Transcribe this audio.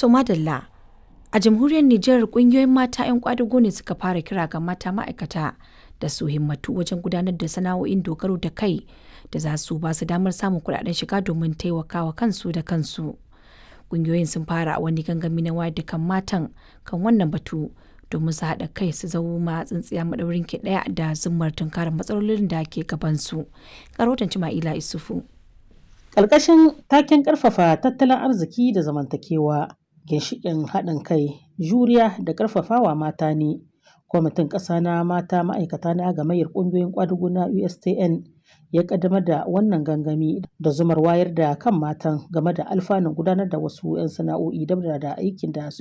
To madalla, a jamhuriyar Nijar kungiyoyin mata 'yan kwadago ne suka fara kira ga mata ma'aikata da su himmatu wajen gudanar da sana'o'in dogaro da kai da za su ba su damar samun kuɗaɗen shiga domin taimakawa kansu da kansu. Kungiyoyin sun fara wani gangami na wayar da kan matan kan wannan batu domin su haɗa kai su zama tsintsiya maɗaurin ki ɗaya da zummar tunkarar matsalolin da ke gabansu. Karotan Cima'ila Isufu. Ƙarƙashin taken ƙarfafa tattalin arziki da zamantakewa, ginshiƙin haɗin kai, juriya da ƙarfafawa mata ne. Kwamitin ƙasa na mata ma'aikata na gamayyar ƙungiyoyin ƙwadago na USTN ya ƙaddamar da wannan gangami da zumar wayar da kan matan game da alfanun gudanar da wasu 'yan sana'o'i dab da aikin da